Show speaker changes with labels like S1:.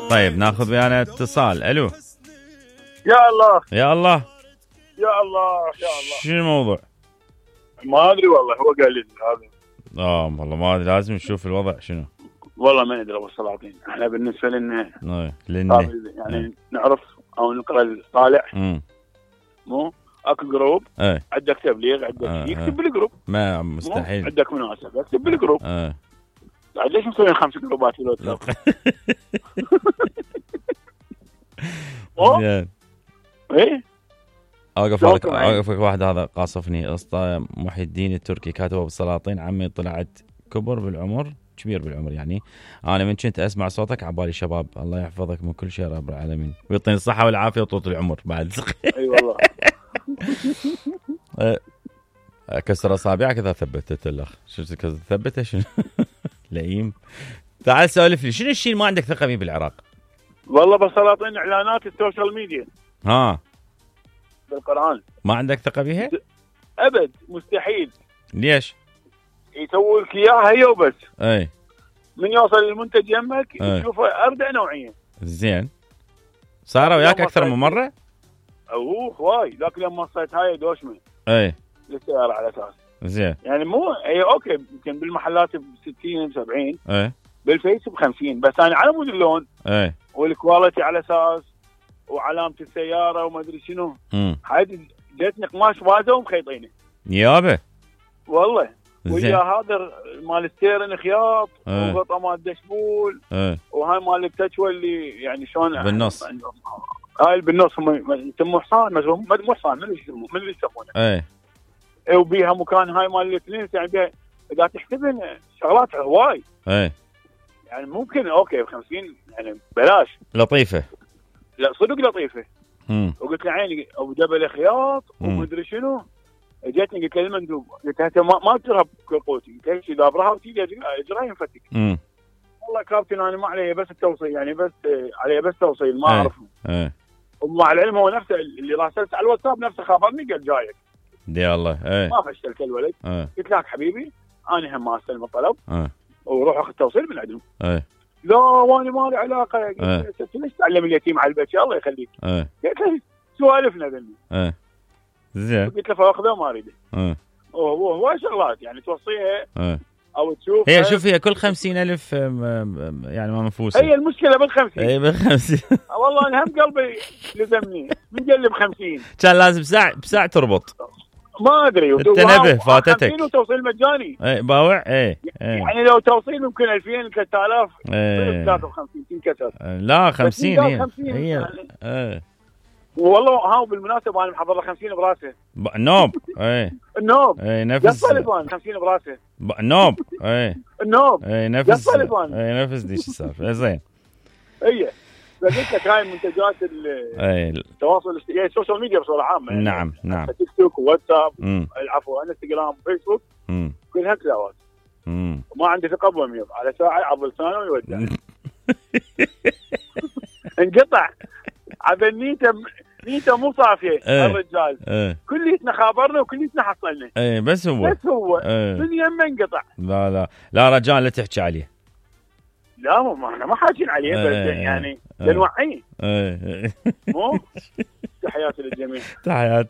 S1: طيب ناخذ ويانا اتصال. الو.
S2: يا الله
S1: يا الله
S2: يا الله يا الله.
S1: شنو الموضوع؟
S2: ما ادري والله، هو قال لي هذا.
S1: والله ما ادري، لازم نشوف الوضع شنو.
S2: والله ما ندري ابو السلاطين، احنا بالنسبه لنا يعني نعرف او نقرا الطالع. مو اكو جروب، عندك تبليغ، عندك شيء، اكتب بالجروب.
S1: ما مستحيل.
S2: عندك مناسبه اكتب بالجروب. بعد ليش مسويين 5 جروبات في الواتساب؟
S1: زين.
S2: ايه
S1: اوقفك واحد هذا قاصفني. اسطى محي الدين التركي كاتبه بالسلاطين: عمي طلعت كبر بالعمر، كبير بالعمر يعني. انا من كنت اسمع صوتك عبالي شباب. الله يحفظك من كل شيء رب العالمين، ويعطيني الصحه والعافيه وطول العمر بعد.
S2: اي والله.
S1: كسر اصابعك اذا ثبتت الاخ. شو ثبته شنو؟ لئيم. تعال سولف لي، شنو الشيء اللي ما عندك ثقه فيه بالعراق؟
S2: والله بالسلاطين اعلانات السوشيال ميديا. بالقرآن
S1: ما عندك ثقه فيها؟
S2: ابد، مستحيل.
S1: ليش؟
S2: يسوي لك اياها هي وبس.
S1: اي
S2: من يوصل المنتج يمك تشوفه اربع نوعيه.
S1: زين. صار وياك اكثر من مره؟
S2: واي، ذاك اليوم وصلت هاي دوشمه.
S1: اي
S2: للسياره على اساس.
S1: زين.
S2: يعني مو هي اوكي، يمكن بالمحلات ب 60 70.
S1: اي
S2: بالفيس ب 50، بس انا على مود اللون.
S1: اي
S2: والكواليتي على اساس وعلامه السياره وما ادري شنو. هاي جتني قماش بازه ومخيطينه.
S1: يابا
S2: والله. ويا هذا مال الستيرن خياط وقطعه مال الدشبول. وهاي مال التشوى اللي يعني شلون
S1: بالنص.
S2: هاي بالنص يسموه حصان، مو حصان، من اللي يسمونه. وبيها مكان هاي مال الاثنين، يعني بيها اذا تحسبن شغلات هواي. يعني ممكن اوكي ب 50 يعني بلاش.
S1: لطيفه.
S2: لا صدق لطيفه. وقلت له عيني ابو جبل خياط ومدري شنو. جتني قلت له المندوب، قلت له ما تجرب قوتي، قلت له دابرها وتيجي اجرها ينفتك. والله كابتن انا ما علي بس التوصيل، يعني بس علي بس توصيل ما اعرفه. ومع العلم هو نفسه اللي راسلت على الواتساب نفسه خابرني قال جايك.
S1: يا الله.
S2: ما فشلت الولد. قلت لك حبيبي انا هم ما استلم الطلب. وروح اخذ التوصيل من عندهم. لا وانا ما لي علاقه. قلت ليش تعلم اليتيم على البيت؟ الله يخليك. قلت له سوالفنا ذني.
S1: زين.
S2: قلت له فاخذه ما اريده. هو شغلات يعني توصيها او تشوف.
S1: هي شوف، هي كل 50,000 يعني ما منفوسه.
S2: هي المشكله بال50.
S1: اي بال50.
S2: والله انا هم قلبي لزمني من قلب 50.
S1: كان لازم ساعه تربط.
S2: ما ادري.
S1: التنبه فاتتك.
S2: 50 وتوصيل مجاني.
S1: باوع.
S2: يعني لو توصيل ممكن 2000 3000. 53 تنكسر.
S1: لا 50 هي.
S2: 50 يعني. والله ها بالمناسبه انا محضر له 50 براسه.
S1: النوب.
S2: النوب.
S1: نفس
S2: 50 براسه.
S1: النوب.
S2: النوب.
S1: نفس. نفس دي شو صار. زين.
S2: فقلت لك هاي منتجات التواصل يعني السوشيال ميديا بصوره عامه.
S1: نعم نعم.
S2: تيك توك وواتساب، العفو انستغرام وفيسبوك، كلها كلاوات. وما عندي ثقه بضمير، على ساعه عض لسانه ويودع. انقطع عبال نيته مو صافيه. الرجال كليتنا خابرنا وكليتنا حصلنا.
S1: بس هو
S2: من يمه انقطع.
S1: لا رجال لا تحكي عليه.
S2: لا ما احنا ما حاكين عليه، بس يعني لنوعيه. مو تحياتي للجميع.
S1: تحياتي.